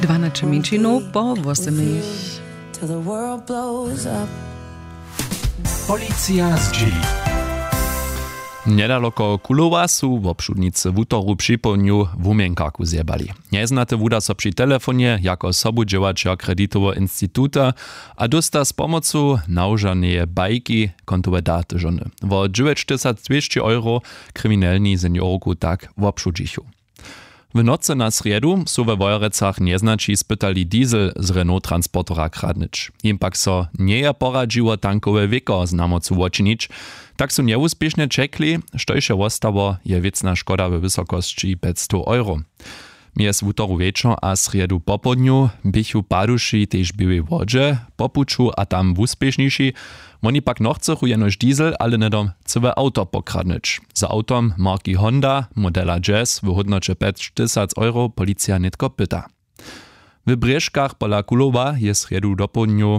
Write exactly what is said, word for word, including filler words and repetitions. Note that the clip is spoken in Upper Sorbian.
Dwanaće mjeńšinow po wósymich. Policija zdźěli. Njedaloko Kulowa su wobšudnicy wutoru připołdnju wuměnkarku zjebali. Njeznate wuda so při telefonje jako sobudźěłaćer kreditoweho instituta a dósta z pomocu nawžaneje bajki kontowe daty žony. Wo dźewjećtysacdwěsći euro kriminelni seniorku tak wobšudźichu. W nocy na srjedu su we Wojerecach njeznaći spytali diesel z Renault transportera kradnyć. Jim pak so njeje poradźiło tankowe wěko z namocu wočinić. Tak su njewuspěšnje ćekli. Štož je wostało, je wěcna škoda we wysokosći pjećstow euro. Mjez wutoru wječor a srjedu popołdnju běchu paduši tež w Běłej Wodźe po puću a tam wuspěšniši. Woni pak nochcychu jenož diesel, ale hnydom cyłe awto pokradnyć. Za awtom marki Honda modela Jazz w hódnoće pjećtysac euro policija nětko pyta. W Brěžkach pola Kulowa je srjedu dopołdnju